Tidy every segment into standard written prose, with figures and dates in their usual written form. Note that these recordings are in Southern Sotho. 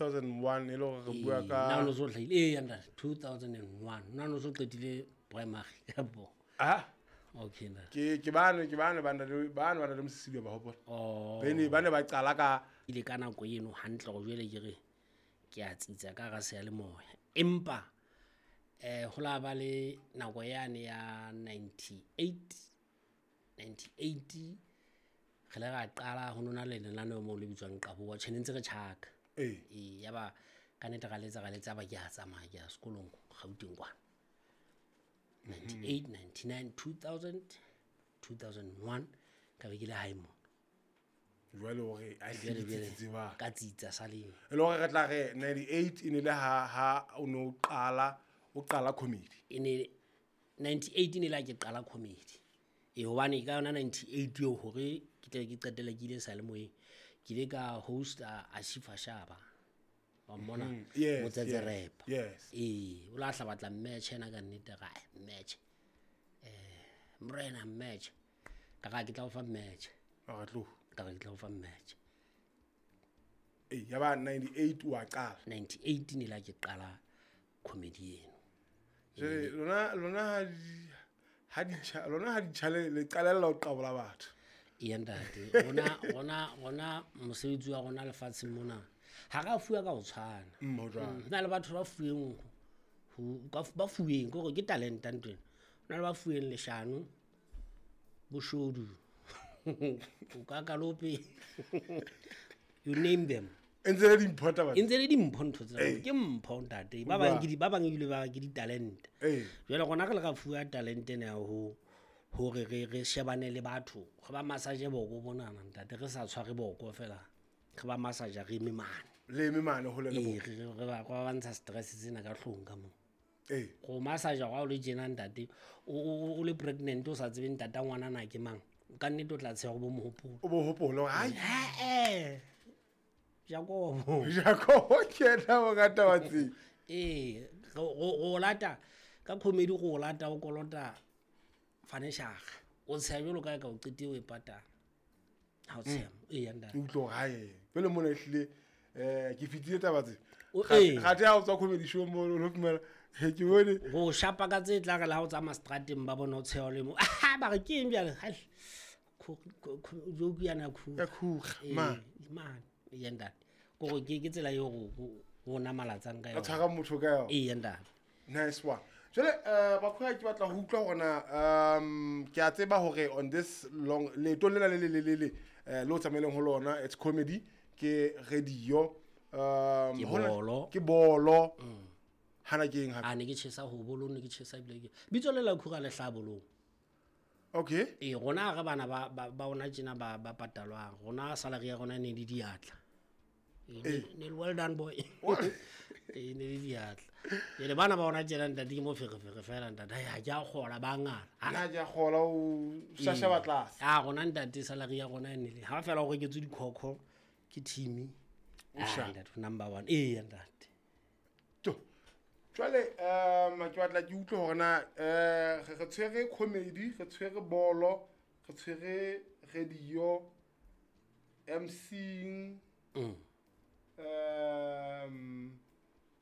2001 e le gore re bua Ee, ka nna o no so hlahile ee ntate, 2001 nna no so qetile primary kapo. Ah, Okay ntate. ke bane ba na le mosisibi ba hopola. Oh. Ba ne ba qala ka Ile ka nako eno hantle go jwale ke re ke a tsitsa ka ga seyalemoya, empa ho la ba le nako yane ya 98 98 re le ra qala ho nona le lenaneo moo le bitswang Qaboa. Tjhe, ne ntse re tjhaka. Ee, yaba ka nnete ra letsa ba ke a tsamaya, ke ya sekolong Gauteng kwana 98, 99, 2000, 2001 ka be ke le hae mona. Jwale hore a Jwale hlile tsitsi ba ka tsitsa saleng. E le hore re tla re 98 e ne le ha o ne o qala comedy. E ne 98 e ne la ke qala comedy e, hobane ka yona 98 eo hore ke tle ke qetelle ke ile seyalemoyeng, ke ile ka hosta Ashifa Shaba wa mmona. Yes. Motsetse rap. Ee, o la hla batla match ena ka nnete ra match, morena match ka ga ke tla o fa match. Re tlo Ka re ke tla o fa match. Ee, ya ba 98 wa qala. 98 ne la ke qala comedy eno. Jwale lona ha di chale le qalella ho qabola batho. Ee ntate, rona mosebetsi wa rona lefatsheng mona ha ra fuwa ka ho tshwana. Ho jwalo. Ho na le batho ba fuweng ba fuweng ke hore ke talenta ntwena. Ho na le ba fuweng leshano, boshodu, o ka kalope, you name them. E ntse le dimpho taba. E ntse le dimpho ntho tsena, ke mpho ntate. Ba bang ke ba bang ebile ba ke ditalente. Jwale rona re le ra fuwa talente ena ya ho hore re shebane le batho, re ba massage boko bonana ntate, re sa tshware boko fela, re ba massage re eme mane. Le eme mane hole le Ee, bona. re ba ntsha stress tsena ka hlong ka moo. Go massage ga o le tjena ntate, o le pregnant, o sa tsebe ntata ngwana na ke mang, ka nnete o tla tsheha go bo mohopolo. O bo hopole hore ai. Ee, Jakobo. Jakobo ke yena o ka taba tse. Ee, go lata ka comedy, go lata o kolota furniture, o tsheha jwalo ka e ka o qetile o e patala ha o tsheha. Ee ntate. O utlwe hore hae pele mona ehlile ke fetile taba tse. Kgathe ha o tswa comedy show mo o lo fumana he ke bone. Go shapa ka tse tla re le ha o tsamaya strateng ba bona o tsheha le mo, ah, ba re ke eng bjale? Hai, joke yana ya khuga. Ya khuga. Ee, Ma mane. Ee ntate, kore ke tsela eo go namalatsang ka a yona. Tshwara motho ka yona. Ee ntate. Nice one. Jwale bakhoya ke batla ho utlwa hore na ke a tseba hore on this long leeto lena le le o tsamaileng ho lona, it's comedy, ke radio, Ke bolo. Ke bolo hana ke eng hape? A ne ke tjhesa ho bolong, ne ke tjhesa ebile ke bitso le la khuga le hlabolong. Ee, rona ha re bana ba ona tjena ba patalwang, rona salary ya rona ne le diatla. Ee, ne le well done boy. Ee, ne le diatla. Jwale bana ba ona tjena ntate ke moferefere fela ntate. Ai, ha ke a kgola ba ngala. Nna ke a kgola o shashaba tlase. A rona ntate salary ya rona e ne le ha fela o reketswe dikhokho ke team. O sharp. Ntate, number one. Ee ntate. To jwale ke batla ke utlwe hore na re tshwere comedy, re tshwere bolo, re tshwere radio, MCing,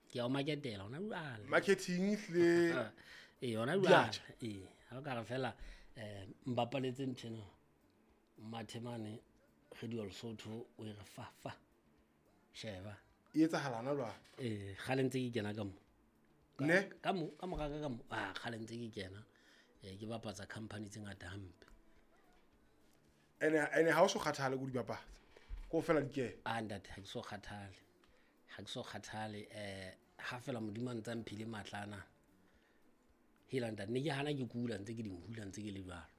Ke a o marketela hona jwale. Marketing ehlile. Ee, hona jwale. Diatjha. Ee, ha o ka re fela mbapaletse ntho ena mathe mane Radio Lesotho, o e re fa fa sheba. E etsahala na jwale? Ee, kgale ntse ke kena ka mo. Ne. Ka mo ka mora ka mo, ah, kgale ntse ke kena, ke bapatsa company tse ngata hampe. Ene ha o so kgathale ko di bapatsa ko fela dikene? Ah ntate, ha ke so kgathale, ha ke so kgathale. Ha fela Modimo a ntse a mphile matla ana, hela ntate, ne ke hana ke kula ntse ke di hula ntse ke le jwalo.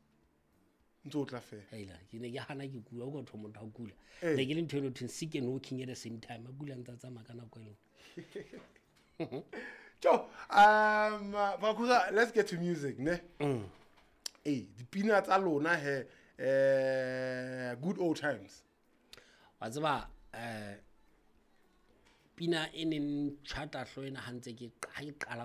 Ntse o tla fela. Hela, ke ne ke hana ke kula, o ka thoma motho a kula. Ee. Ne ke le ntho eno thweng sick and working at the same time, a kula ntse a tsamaya ka nako e lengwe. Jo, Bakhuga, let's get to music ne. Ee, dipina tsa lona he, good old times. Wa tseba, pina e neng tjhata hlo ena ha ntse ke ha ke qala.